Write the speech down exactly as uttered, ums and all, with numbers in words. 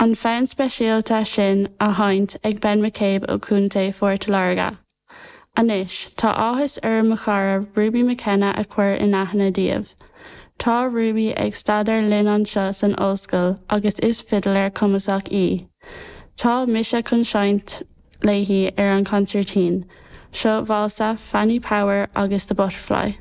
An fonn speisialta sin á sheinnt ag Ben McCabe ó Chontae Phort Láirge. Anois, tá áthas orm mo chara Ruby McKenna a chur in aithne daoibh. Tá Ruby ag staidéar linn anseo san ollscoil agus is fidléir cumasach í. Tá mise chun seinnt léi ar an consairtín, seo válsa Fanny Power agus the Butterfly.